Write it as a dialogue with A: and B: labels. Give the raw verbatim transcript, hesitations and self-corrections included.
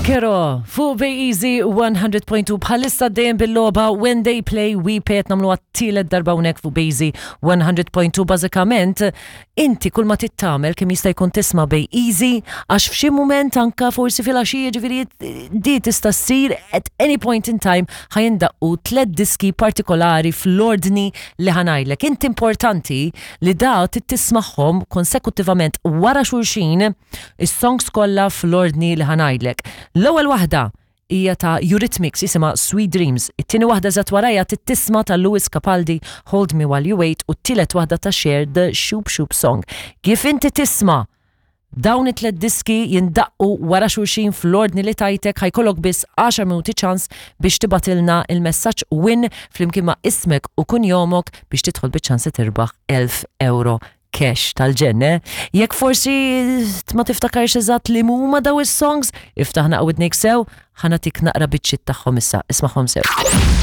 A: Zucchero fuq BejEasy one hundred point two, bħalissa dejjem bil-logħba When They Play We Pay, qed nagħmlu għat-tielet darba hawnhekk fuq BejEasy one hundred point two. Bażikament inti kull ma trid tagħmel kemm jista' jkun tisma' BejEasy, għax f'xi mument, anka forsi fil-għaxija, ġifieri di tista' ssir at any point in time, ħa jindaqqu tliet diski partikolari fl-ordni li ħa ngħidlek. Inti importanti li da tismagħhom konsekutivament wara xulxin, is-songs kollha fl-ordni li ħa ngħidlek. L-ewwel waħda hija ta' Eurythmics, jisimha Sweet Dreams. It-tieni waħda eżatt warajha tisma' ta' Lewis Capaldi, Hold Me While You Wait, u t-tielet waħda ta' Cher, The Shoop Shoop Song. Kif inti tisma' dawn it-tlet diski jindaqqu wara xulxin fl-ordni li tajtek, ħa jkollok biss għaxar minuti ċans biex tibgħatilna il-messaġġ WIN flimkien ma' ismek u kunjomok biex tidħol biċ-ċans li tirbaħ elf euro cash tal-ġenne. Jekk forsi ma tiftakarx eżatt li huma daw is-songs, iftaħ naqra widnejk sew, ħa nagħtik naqra biċċiet tagħhom issa, ismagħhom sew.